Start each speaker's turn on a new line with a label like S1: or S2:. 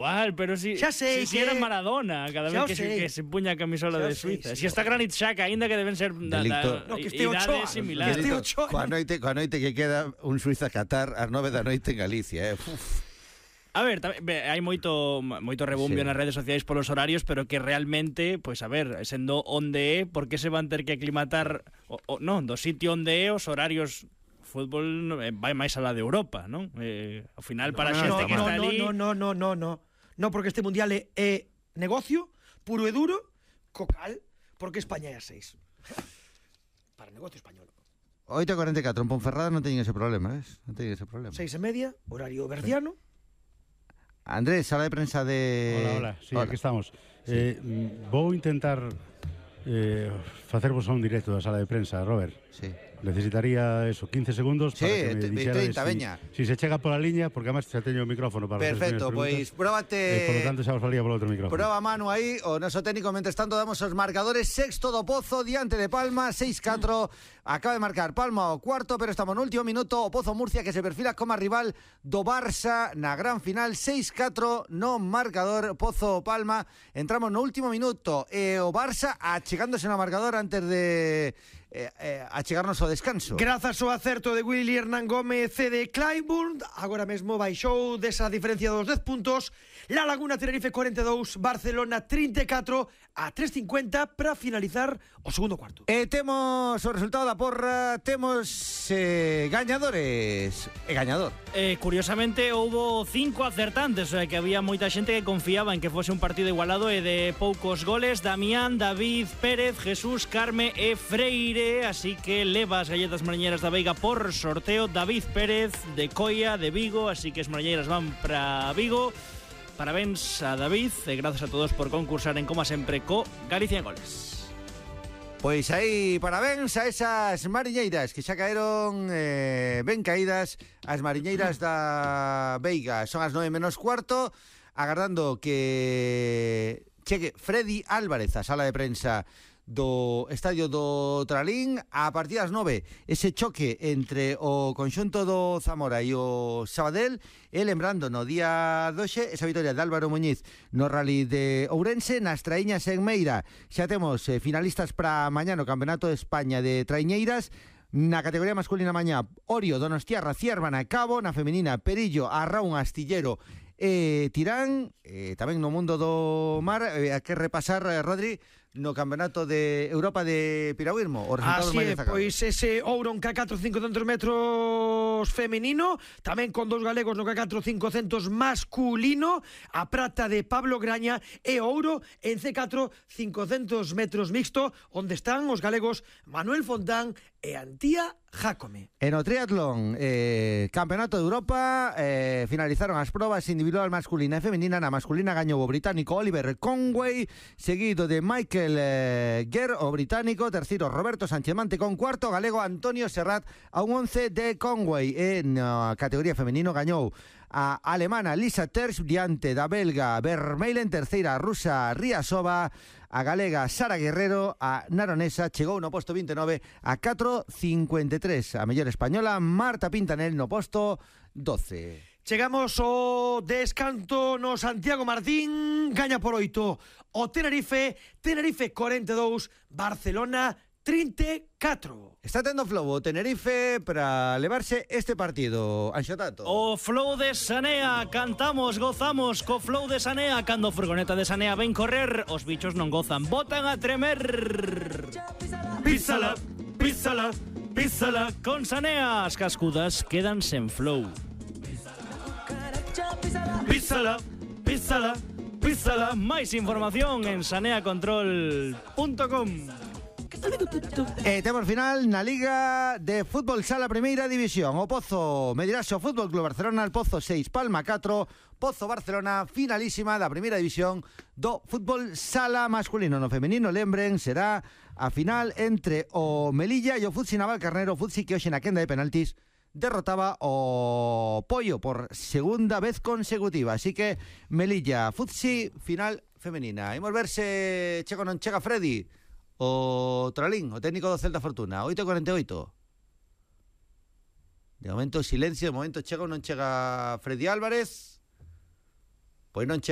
S1: Igual, pero si era Maradona cada vez que se puña a camisola de Suiza. Si está Granit Xhaka, ainda que deben ser idades similares.
S2: Coa noite que queda un Suiza-Qatar ás 9 da noite en Galicia,
S1: A ver, hai moito rebumbio nas redes sociais polos horarios, pero que realmente, pois a ver, sendo onde é, por que se van ter que aclimatar do sitio onde é os horarios. Fútbol vai máis alá de Europa, non? Ao final, para a xente que está ali...
S3: No, porque este mundial é negocio puro e duro, cocal, porque España é a 6. Para negocio español.
S2: 8:44, en Ponferrada non teñen ese problema, ¿ves? Non teñen ese problema.
S3: 6:30, horario verdiano.
S2: Andrés, sala de prensa de...
S4: Hola, sí, aquí estamos. Vou intentar facervos un directo da sala de prensa, Robert.
S2: Sí.
S4: Necesitaría 15 segundos para que me dixeras
S2: 30, veña.
S4: Si se chega pola liña, porque además xa teño o micrófono para
S2: perfecto, pois próbate.
S4: Por lo tanto xa vos falía polo outro micrófono.
S2: Proba Manu aí, o noso técnico. Mentres tanto damos os marcadores. Sexto do Pozo diante de Palma, 6-4. Acaba de marcar Palma o cuarto, pero estamos no último minuto. O Pozo Murcia, que se perfila como rival do Barça na gran final. 6-4 no marcador Pozo Palma. Entramos no último minuto e o Barça achegándose no marcador antes de achegarnos ao descanso.
S3: Grazas ao acerto de Willy Hernán Gómez e de Clyburn, agora mesmo baixou desa diferencia dos 10 puntos. La Laguna Tenerife 42, Barcelona 34 a 3.50 para finalizar o segundo cuarto.
S2: Temos o resultado da porra, temos gañadores e gañador.
S1: Curiosamente houbo 5 acertantes, o sea que había moita xente que confiaba en que fose un partido igualado e de poucos goles. Damián, David, Pérez, Jesús, Carme e Freire. Así que leva as galletas mariñeiras da Veiga por sorteo. David Pérez de Coia, de Vigo. Así que as mariñeiras van para Vigo. Parabéns a David e grazas a todos por concursar en como sempre co Galicia en Goles.
S2: Pois aí, parabéns a esas mariñeiras que xa caeron ben caídas. As mariñeiras da Veiga son as 9:15, agardando que chegue Freddy Álvarez a sala de prensa do estadio do Tralín a partir das 9. Ese choque entre o conxunto do Zamora e o Sabadell, e lembrando no día 12 esa vitoria de Álvaro Muñiz no Rally de Ourense. Nas traiñas en Meira xa temos finalistas para mañá no Campeonato de España de Traiñeiras. Na categoría masculina mañá, Orio, Donostiarra, Ciervana e Cabo. Na femenina, Perillo, Arraun, Astillero e Tirán. Tamén no mundo do mar, a que repasar, Rodri, no Campeonato de Europa de Piragüismo. O resultado máis destacado.
S3: Pois ese ouro en K4 500 metros femenino, tamén con dous galegos no K4 500 masculino, a prata de Pablo Graña e ouro en C4 500 metros mixto, onde están os galegos Manuel Fontán e Antía Jácome.
S2: En o triatlón, Campeonato de Europa, finalizaron as probas individual masculina e femenina. Na masculina gañou o británico Oliver Conway, seguido de Michael Guerr, o británico. Terceiro, Roberto Sanchemante con cuarto, galego Antonio Serrat a un 11 de Conway. Na categoría femenino gañou a alemana Lisa Terz diante da belga Vermeulen. Terceira, a rusa Riasova. A galega Sara Guerrero. A naronesa chegou no posto 29 a 4.53. A mellor española Marta Pintanel no posto 12.
S3: Chegamos ao descanto no Santiago Martín. Gaña por 8 o Tenerife 42, Barcelona 34.
S2: Está tendo flow o Tenerife para levarse este partido, Anxotato.
S1: O flow de Sanea, cantamos, gozamos co flow de Sanea. Cando a furgoneta de Sanea ven correr, os bichos non gozan, botan a tremer. Písala, písala, písala. Con Sanea as cascudas quedan sen flow. Písala, písala, písala. Máis información en saneacontrol.com.
S2: Temos final na Liga de Fútbol Sala Primeira División. O Pozo medirase o Fútbol Club Barcelona, el Pozo 6, Palma 4. Pozo Barcelona, finalísima da Primeira División do Fútbol Sala Masculino. No femenino, lembren, será a final entre o Melilla e o Futsi Navalcarnero. Futsi que hoxe na quenda de penaltis derrotaba o Pollo por segunda vez consecutiva. Así que Melilla, Futsi, final femenina. Imos ver se chega ou non chega Freddy, o Tralín, o técnico do Celta Fortuna. 8:48. De momento silencio, de momento chega ou non chega Freddy Álvarez. pois non chega